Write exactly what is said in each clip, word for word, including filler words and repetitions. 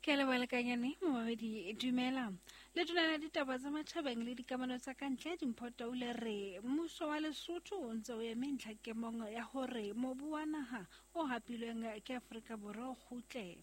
Ke a leboha lekanyane momamedi, dumela. Letona la ditaba tsa matjhabeng le dikamano tsa ka ntle Dimpho Taule re mmuso wa Lesotho o ntse o eme ntlhakemong ya hore mobu wa naha o hapilweng ke Afrika Borwa o kgutle.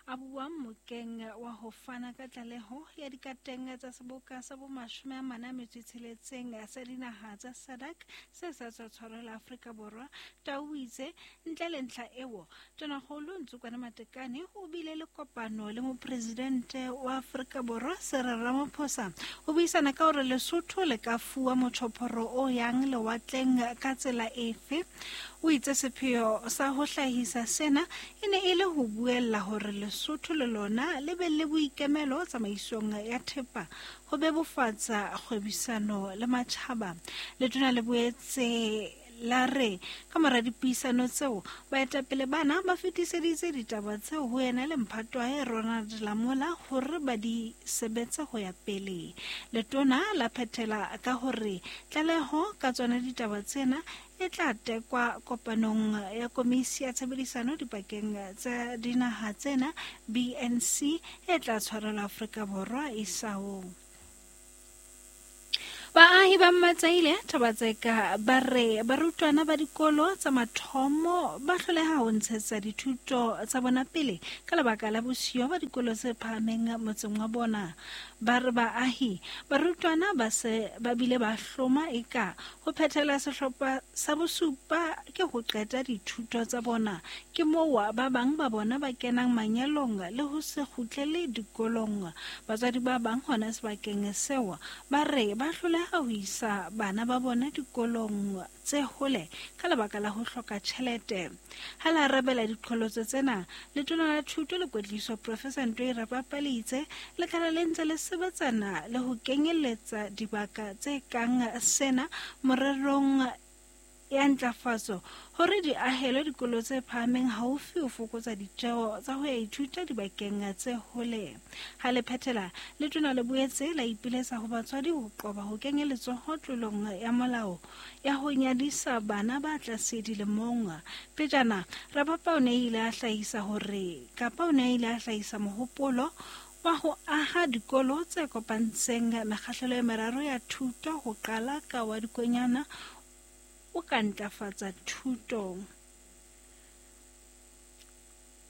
A bua mokeng wa ho fana ka tlaleho ya dikateng tsa seboka sa bomashome a mane a metso e tsheletseng sa dinaha tsa SADC se sa tswa tshwarelwa Afrika Borwa. Tau o itse ntle le ntlha eo, Tonakgolo Ntsokwane Matekane o bile le kopano le mopresidente wa Afrika Borwa Cyril Ramaphosa ho buisana ka hore Lesotho le ka fuwa motjhophoro o yang lewatleng ka tsela efe. O itse sepheo sa ho hlahisa sena e ne e le ho buella hore Lesotho le lona le be le boikemelo tsamaisong ya thepa ho bebofatsa kgwebisano le matjhaba. Letona le boetse la re ka mora dipuisano tseo baetapele bana ba fetiseditse ditaba tseo ho yena le mphato wa hae Ronald Lamola hore ba di sebetse ho ya pele. Letona la phethela ka hore tlaleho ka tsona ditaba tsena e tla tekwa kopanong ya komisi ya tshebedisano dipakeng tsa dinaha tsena B N C e tla tshwarelwa Afrika Borwa isao. Baahi ba Mmatsaile Thabatseka ba re barutwana ba dikolo tsa mathomo ba hloleha ho ntshetsa dithuto tsa bona pele ka lebaka la bosiyo ba dikolo tse phahameng motseng wa bona. Ba re baahi barutwana ba se ba bile ba hloma eka ho phethela sehlopha sa bosupa ke ho qeta dithuto tsa bona. Ke moo ba bang ba bona ba kenang manyalong le ho se kgutlele dikolong. Batswadi ba bang hona sebakeng seo ba re ba hloleha ho isa bana ba bona dikolong tse hole ka lebaka la ho hloka tjhelete. Ha la arabela diqholotso tsena, Letona la Thuto le Kwetliso Professor Ntoi Rapapa le itse lekala le ntse le sebetsana le ho kenyelletsa dibaka tse kang sena morerong ya ntlafatso hore di ahelwe dikolo tse phahameng haufi ho fokotsa ditjeo tsa ho ya ithuta dibakeng tse hole. Ha le phethela, letona le boetse la ipiletsa ho batswadi ho qoba ho kenya letsoho tlolong ya molao ya ho nyadisa bana ba tlase dilemong. Pejana, Rapapa o ne ile a hlahisa hore kapa o ne ile a hlahisa mohopolo wa ho aha dikolo tse kopantseng mekgahlelo e meraro ya thuto ho qala ka wa dikonyana o ka ntlafatsa thuto.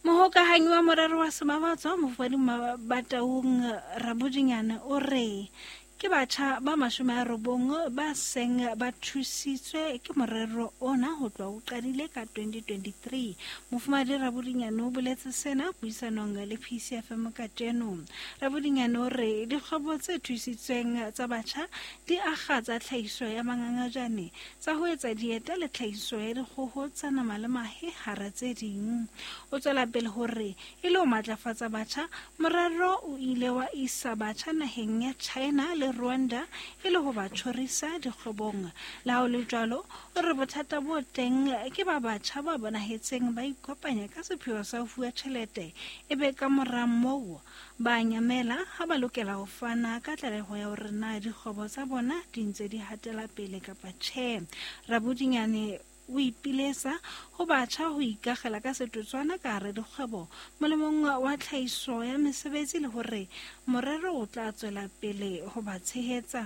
Mohokahanyi wa morero wa Semabatso Mofumahadi Bataung Rabodinyane o re ke batjha ba mashome a robong ba seng ba thusitswe ke morero ona ho tloha o qadile ka twenty twenty-three. Mofumahadi Rabodinyane o boletse sena puisanong le P C F M kajeno. Rabodinyane o re dikgwebo tse thusitsweng tsa batjha di akga tsa tlhahiso ya mangangajane, tsa ho etsa dieta le tlhahiso ya dikgoho tsa nama le mahe hara tse ding. O tswela pele hore e le ho matlafatsa batjha, morero o ile wa isa batjha naheng ya China le Rwanda e le ho ba tjhorisa dikgwebong. Le ha ho le jwalo, o re bothata bo teng ke ba batjha ba bonahetseng ba ikopanya ka sepheo sa ho fuwa tjhelete, ebe ka mora moo ba nyamela ha ba lokela ho fana ka tlaleho ya hore na dikgwebo tsa bona di ntse di hatela pele kapa tjhe. Rabodinyane o ipiletsa ho batjha ho ikakgela ka setotswana ka hare dikgwebo molemong wa tlhahiso ya mesebetsi le hore morero o tla tswela pele ho ba tshehetsa.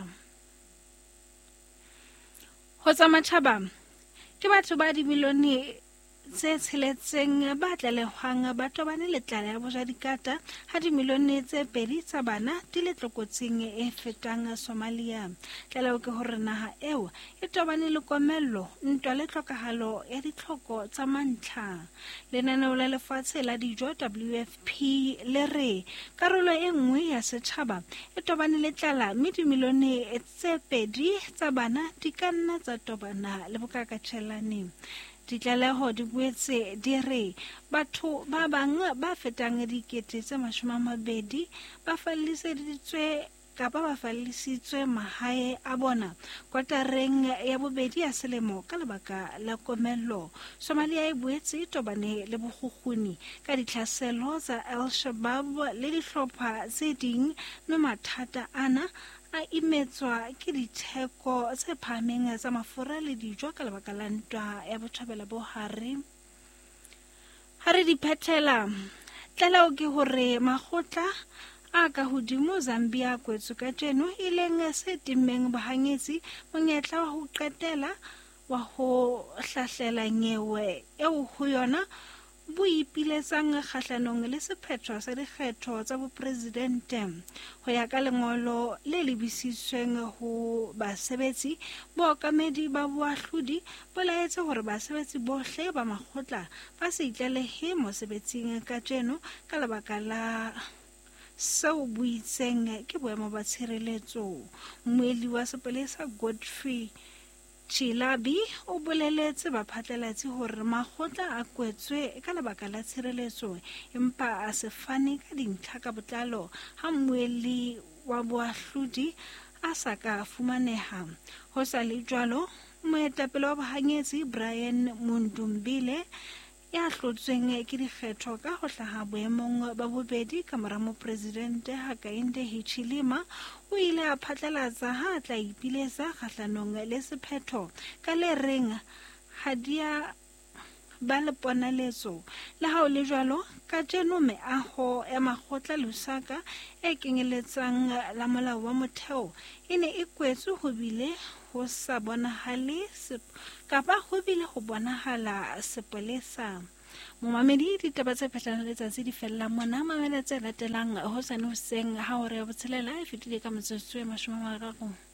Ho tsa matjhaba, ke batho ba dimilione tse tsheletseng ba tlalehwang ba tobane le tlala ya bojadikata ha dimilione tse pedi tsa bana di le tlokotsing e fetang Somalia. Tlaleho ke hore naha eo e tobane le komello, ntwa le tlhokahalo ya ditlhoko tsa mantlha. Lenaneo la lefatshe la dijo W F P le re karolo e nngwe ya setjhaba e tobane le tlala mme dimilione tse pedi tsa bana di ka nna tsa tobana le bokakatjhelane. Ditlaleho di boetse di re batho ba bang ba fetang dikete tse mashome a mabedi ba falliseditswe kapa ba fallisitswe mahae a bona kotareng ya bobedi ya selemo ka lebaka la komello. Somalia e boetse e tobane le bokgukguni ka ditlhaselo tsa Al-Shabaab le dihlopha tse ding, mme mathata ana a imetswa ke ditheko tse phahameng tsa mafura le dijo ka lebaka la ntwa ya botjhabela bo hare. Ha re di phethela, Tlaleho ke hore makgotla a ka hodimo Zambia a kwetswe kajeno, e leng se timmeng bohanyetsi monyetla wa ho qetela wa ho hlahlela nyewe eo ho yona bo ipiletsang kgahlanong le sephetho sa dikgetho tsa bopresidente. Ho ya ka lengolo le lebisitsweng ho basebetsi, bookamedi ba boahlodi bo laetse hore basebetsi bohle ba makgotla ba se itlalehe mosebetsing kajeno ka lebaka la seo bo itseng ke boemo ba tshireletso. Mmuelli wa sepolesa Godfrey Chilabi o boleletse baphatlalatsi hore makgotla a kwetswe ka lebaka la tshireletso, empa a se fane ka dintlha ka botlalo ha mmuelli wa boahlodi a sa ka fumaneha. Ho sa le jwalo, moetapele wa bohanyetsi Brian Mundumbile, ya hlotsweng ke dikgetho ka ho hlaha boemong ba bobedi ka mora mopresidente Hakainde Hichilema, o ile a phatlalatsa ha a tla ipiletsa kgahlanong le sephetho ka le reng ha di a ba le ponaletso. Le ha ho le jwalo, kajeno meaho ya makgotla Lusaka e kenyeletsang la molao wa motheo e ne e kwetswe ho bile ho sa bonahale kapa ho bile ho bonahala sepolesa. Momamedi, ditaba tse phehlang letsatsi di fella mona. Mamela tse latelang hosane hoseng ha hora ya botshelela e fetile ka metsotso e mashome a mararo.